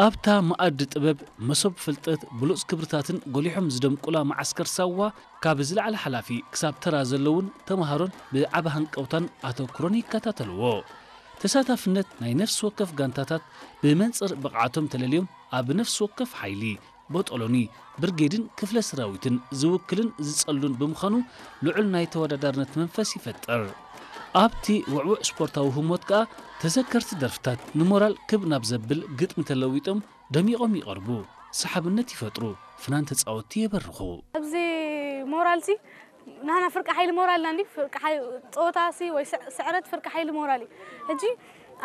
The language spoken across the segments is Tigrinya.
ኣብታ መኣዲ ጥበብ፣ መሶብ ፍልጠት፣ ብሉጽ ክብርታትን ጎሊሖም ዝደምቁላ መዓስከር ሳዋ፣ ካብ ዝለዓለ ሓላፊ ክሳብ ተራ ዘለውን ተምሃሮን ብዓቢ ሃንቀውታን ኣተኩሮን ይከታተልዎ። ተሳታፍነት ናይ ነፍሲ ወከፍ ጋንታታት ብመንጽር ብቕዓቶም ተለልዮም ኣብ ነፍሲ ወከፍ ሓይሊ፣ ቦጦሎኒ፣ ብርጌድን ክፍለ ሰራዊትን ዝውክልን ዝጸሉን ብምዃኑ ልዑል ናይ ተወዳዳርነት መንፈስ ይፈጥር። ኣብቲ ውዕዉዕ ስፖርታዊ ህሞት ከኣ ተዘከርቲ ደርፍታት ንሞራል ክብ ናብ ዘብል ግጥሚ ተለዊጦም ደሚቖም ይቐርቡ፣ ሰሓብነት ይፈጥሩ፣ ፍናን ተጻወትቲ የበርኹ። ኣብዚ ሞራልሲ ንሕና ፍርቂ ሓይሊ ሞራልና እንዲ ፍርቂ ሓይ-፣ ጸወታሲ ወይ ስዕ-፣ ስዕረት ፍርቂ ሓይሊ ሞራል እዩ። ሕጂ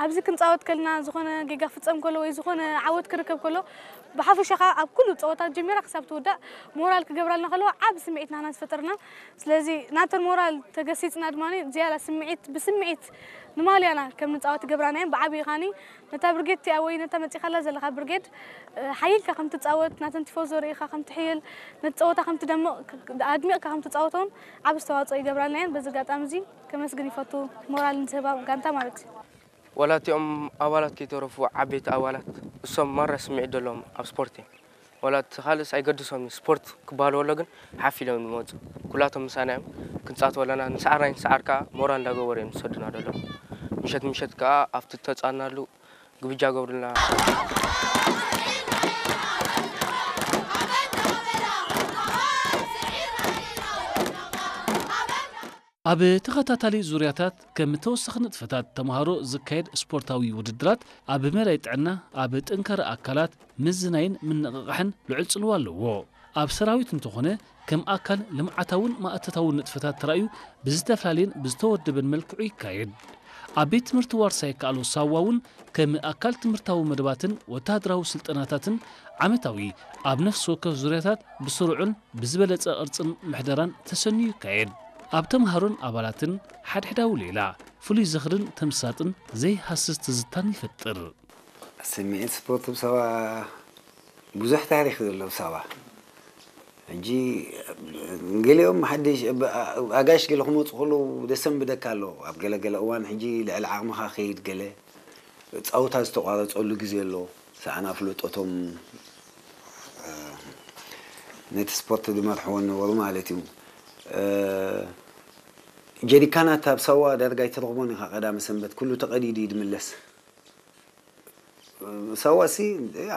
ኣብዚ ክንጻወት ከልና ዝኾነ ጌጋ ክፍጸም ከሎ ወይ ዝኾነ ዓወት ክርከብ ከሎ ብሓፈሻ ኸኣ ኣብ ኩሉ ጸወታ ጀሚራ ክሳብ ትውዳእ ሞራል ክገብራልና ከለዋ ዓቢ ስምዒት ናህና ዝፈጠርና። ስለዚ ናተን ሞራል ተገሲጽና ድማ ዝያዳ ስምዒት ብስምዒት ንማልያና ከም ንጻወት ይገብራና እየን። ብዓቢ ኻኒ ነታ ብርጌድ እቲኣ ወይ ነታ መጺኻላ ዘለኻ ብርጌድ፣ እ፣ ሓይልካ ከም ትጻወት፣ ናተን ቲፎዞ ርኢኻ ከም ትሕይል፣ ነቲ ጸወታ ከም ትደምቕ፣ ክ-፣ ኣድሚቕካ ከም ትጻወቶን ዓቢ ኣስተዋጽኦ ይገብራልና እየን። በዚ ኣጋጣሚ እዚ ከመስግን ይፈቱ፣ ሞራል ንዝህባ ጋንታ ማለት እዩ። ዋላ እቲኦም ኣባላት ከይተረፉ ዓበይቲ ኣባላት እሶም ማራ ስምዒት ዘለዎም ኣብ ስፖርት እዮም። ዋላ እቲ ካልእስ ኣይገድሶም እዩ። ስፖርት ክበሃል ከሎ ግን ሓፍ ኢሎም ዝመጹ። ኩላቶም ምሳና እዮም። ክንጻወት ከለና ንሰዓር ኣይንሰዓር ከኣ ሞራል እንዳገበሩ እዮም ዝሰዱና ዘለዉ። ምሸት ምሸት ከኣ ኣብቲ እተጻወትናሉ ግብጃ ገብሩልና። ኣብ ተኸታታሊ ዙርያታት ከም ተወሳኺ ንጥፈታት ተምሃሮ ዝካየድ ስፖርታዊ ውድድራት ኣብ መዳይ ጥዕና፣ ኣብ ጥንካረ ኣካላት፣ ምዝናይን ምንቕቓሕን ልዑል ጽልዋ ኣለዎ። ኣብ ሰራዊት እንተኾነ ከም ኣካል ልምዓታውን ማእቶታውን ንጥፈታት ተራእዩ ብዝተፈላለየን ብዝተወደበን መልክዑ ይካየድ። ኣብ ቤት ትምህርቲ ዋርሳይ ከኣሎ ሳዋ እውን ከም ኣካል ትምህርታዊ መደባትን ወተሃደራዊ ስልጠናታትን ዓመታዊ ኣብ ነፍሲ ወከፍ ዙርያታት ብስሩዕን ብዝበለጸ ቅርጽን ምሕደራን ተሰንዩ ይካየድ። ኣብ ተምሃሮን ኣባላትን ሓድሕዳዊ ሌላ ፍሉይ ዝኽርን ተምሳጥን ዘይሃስስ ትዝታን ይፈጥር። ስምዒት ስፖርት ብሳዋ ብዙሕ ታሪኽ ዘሎ ብሳዋ። ሕጂ ገሊኦም ሓድሽ ኣጋሽ ገለ ክመፁ ከለዉ ደሰንብደካ ኣሎ። ኣብ ገለ ገለ እዋን ሕጂ ልዕሊ ዓቕምኻ ከይድ ገለ ጸወታ ዝተቋረጸሉ ግዜ ኣሎ። ሰኣን ኣፍልጦቶም፣ እ፣ ነቲ ስፖርት ዝመርሕዎ ነበሩ ማለት እዩ። እ፣ ጀሪካናት ኣብ ሳዋ ዳርጋ ኣይትረኽቦን ኢኻ። ቀዳመ ሰንበት ኩሉ ተቐዲዱ እዩ ዝምለስ። እ፣ ሳዋ ሲ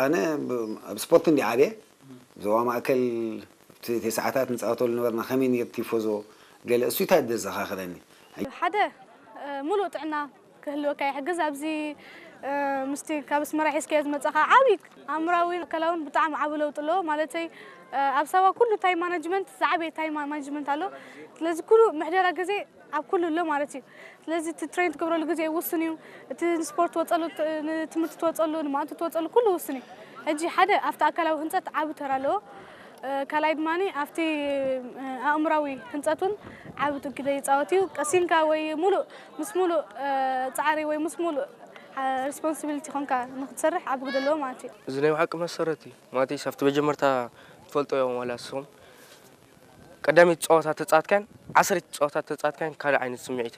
ኣነ ብ-፣ ኣብ ስፖርት እንዲ ዓብየ፣ ዞባ ማእከል እቲ ተስዓታት ንጻወተሉ ነበርና። ከመይ ነይሩ ቲፎዞ? ገለ እሱ እንታይ ዘዘኻኽረኒ? ሓደ፣ እ፣ ሙሉእ ጥዕና ክህልወካ ይሕግዝ። ኣብዚ፣ እ፣ ምስቲ ካብ ኣስመራ ሒዝካዮ ዝመጻኻ ዓቢ ኣእምራዊን ኣካላውን ብጣዕሚ ዓቢ ለውጢ ኣለዎ። ማለተይ፣ እ፣ ኣብ ሳዋ ኩሉ ታይም ማናጅመንት ዝዓበየ ታይም ማናጅመንት ኣሎ። ስለዚ ኩሉ ምሕደራ ግዜ ኣብ ኩሉ ኣሎ ማለት እዩ። ስለዚ እቲ ትሬን ትገብረሉ ግዜ ውሱን እዩ። እቲ ንስፖርት ትወጸሉ፣ ት-፣ ንትምህርቲ ትወጸሉ፣ ንማእቱ ትወጸሉ ኩሉ ውሱን እዩ። ሕጂ ሓደ ኣብቲ ኣካላዊ ህንጸት ዓቢ ተራ ኣለዎ። እ፣ ካልኣይ ድማ ኣብቲ፣ እ፣ ኣእምራዊ ህንጸት እውን ዓቢ ግደ ይጻወት እዩ። ቀሲንካ ወይ ሙሉእ፣ ምስ ሙሉእ፣ እ፣ ጻዕሪ ወይ ምስ ሙሉእ፣ እ፣ ሪስፖንሲቢሊቲ ኮንካ ንክትሰርሕ ዓቢ ግደ ኣለዎ ማለት እዩ። እዚ ናይ ብሓቂ መሰረት እዩ። ማለተይስ ኣብቲ መጀመርታ ትፈልጦ እዮም ዋላ ንስኹም። ቀዳመይቲ ጸወታ ተጻወትካን ዓሰርይቲ ጸወታ ተጻወትካን ካልእ ዓይነት ስምዒት።